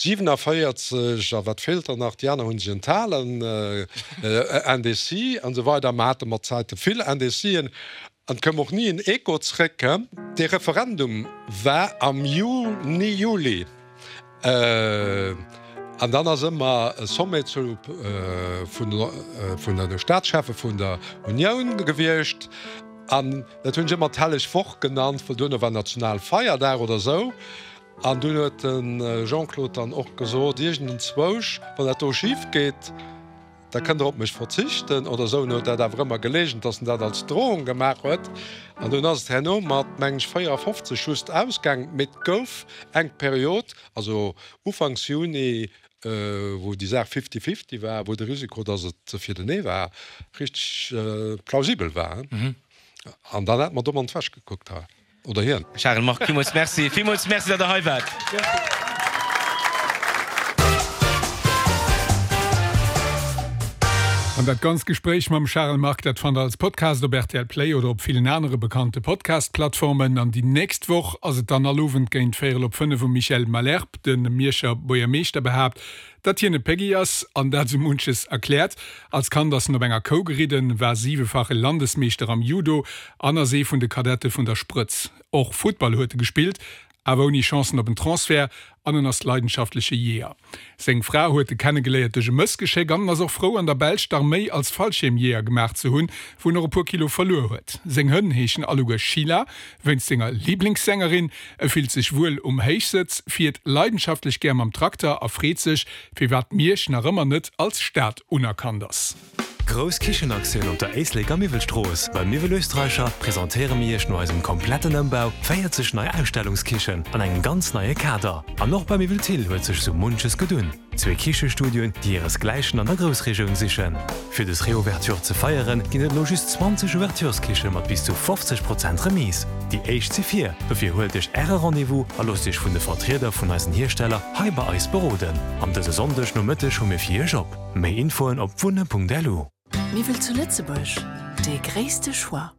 47, a wat feelt der nach, déi aner hunn sech enthalen, Indécis an esou weider. Mer hate mat Zäite vill Indécisen an et koum och ni en Echo zréck. Dee Referendum war am Juni, Juli an dann ass ëmmer e Sommet zu vun de Staatscheffe vun der Unioun gewiescht an dat hunn ech ëmmer d'helleg Woch genannt, well duerno war Nationalfeierdag oder esou. An dunn huet de Jean-Claude dann och gesot, Iergendenzwousch, wann dat do schif geet, da kënnt Der op mech verzichten oder esou. En huet dat awer ëmmer geleegent, datt en dat als Drohung gemaach huet. An dunn ass et herno mat, meng ech, 54 just ausgaang. Mee et gouf eng Period, also ufanks Juni, wou déi Saach fifty-fifty war, wou de Risiko, datt et fir den Nee war, richteg plausibel war. An dann hätte mer domm an d'Wäsch gekuckt hei. Oder hien. Charel Margue, villmools Merci. Villmools Merci, datt Der hei waart. An dat ganzt Gespréich mam Charel Margue, dat fannt der als Podcast op rtl Play oder op villen anere bekannte Podcast-Plattformen. An déi nächst Woch ass et dann all Owend géint véierel op 5 um Michel Malherbe. De Mierscher Buergermeeschter behaapt, datt hien e Peggy ass an dat sou munches erkläert. Als Kand ass en op enger Kou geridden, war siwefache Landesmeeschter am Judo an ass ee vun de Kadette vun der Sprëtz. Och Futtball huet e gespillt, awer ouni Chancen op en Transfert an en ass leidenschaftleche Jeeër. Seng Fra huet e kennegeléiert duerch e Mëssgeschéck an en ass och frou an der Belsch d'Arméi als Fallschiermjeeër gemaach ze hunn, wou en och e puer Kilo verluer huet. Seng Hënn heeschen alleguer Sheila, wéinst senger Liblingssängerin. E fillt sech wuel um Héichsëtz, fiert leidenschaftlech gär mam Trakter a freet sech, firwat Miersch nach ëmmer net als Stad unerkannt ass. Grouss Kichenaktioun op der Éisleker Miwwelstrooss! Beim Miwwel Österreicher presentéiere mir Iech no eisem kompletten Ëmbau 40 nei Ausstellungskichen an engem ganz neie Kader. An och bei Miwwel Thill huet sech sou munches gedunn. Zwee Kichestudioen, déi hiresgläichen an der Groussregioun sichen. Fir des Reouverture ze feieren, ginn et elo just 20 Ouvertureskiche mat bis zu 50 Prozent Remise. Déi éischt si vir, dofir huelt Iech Äre Rendez-vous a loosst Iech vun de Vertrieder vun eisen Hiersteller hei bei eis beroden. An dëse Sonndeg Nomëtteg hu mir fir Iech op. Méi Infoen op wunne.lu. Miwwel zu Lëtzebuerg, dee gréisste Choix.